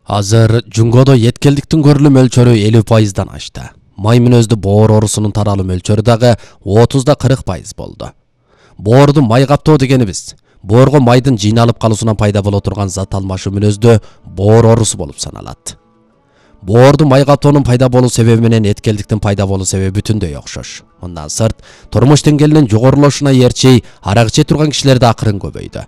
Азыр Жунгодо еткелдиктин көрүлүү мөлчөрү 50%дан ашты. Май мүнөздүү боор оорусунун таралуу мөлчөрү дагы 30-40% болду. Боорду май каптоо дегенибиз боорго майдын жыйналып калуусунан пайда боло турган зат алмашуу мүнөздүү боор оорусу болуп саналат. Боорду май каптоонун пайда болуу себеби менен эткелдиктин пайда болуу себеби бүтүндөй окшош. Мындан сырт, турмуш деңгээлинин жогорулошуна ээрчи арак иче турган кишилер да акырын көбөйдү.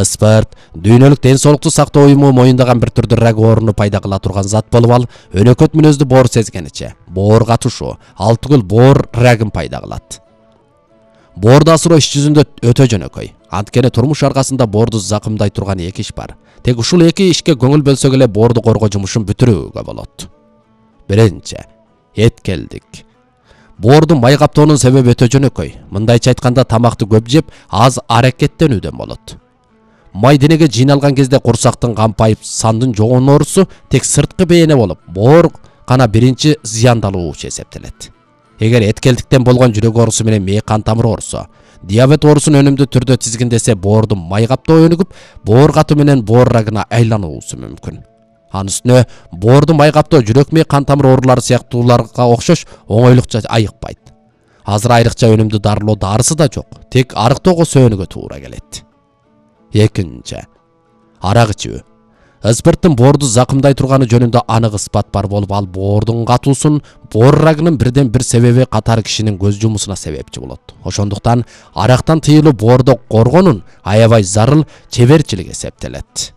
Спорт, дүйнөлүк ден соолукту сактоо уюму моюндаган бир түрдүү рак ооруну пайда кыла турган зат болуп ал, өнөкөт мүнөздүү боор сезгениче, боор катышуу, ал түгүл боор рагын пайда кылат. Боорду асыроо иш жүзүндө өтө жөнөкөй. Анткени турмуш аркасында боорду закымдай турган эки иш бар. Тек ушул эки ишке көңүл бөлсөк эле боорду коргоо жумушун бүтүрүүгө болот. Биринчи, эткелдик. Боорду май каптоонун себеби өтө жөнөкөй. Мындайча айтканда, тамакты көп жеп, аз аракеттенүүдөн болот. Май денеге жыйналган кезде курсактын кампайып, сандын жогоноорусу тек сырткы бээне болуп, боор гана биринчи зыяндалуучу эсептелет. Эгер эткелдиктен болгон жүрөк оорусу менен мээ кан тамыр оорусу, диабет оорусун өнүмдүү түрдө тизгиндесе, боорду май каптоо өнүгүп, боор катуу менен боор рагына айлануусу мүмкүн. Анын үстүнө боорду май каптоо жүрөк мээ кан тамыр оорулары сыяктууларга окшош оңойлукча айыкпайт. Азыр айрыкча өнүмдүү дарылоо дарысы да жок, тек арыктоого сөөнүгө туура келет. Экинчи, арак ичүү. Спирттин боорду закымдай турганы жөнүндө анык ыспат бар болуп, ал боордун катуусун, боор рагынын бирден бир себеби катары кишинин көз жумусуна себепчи болот. Ошондуктан арактан тыйылуу боорду коргоонун аябай зарыл чеберчилик эсептелет.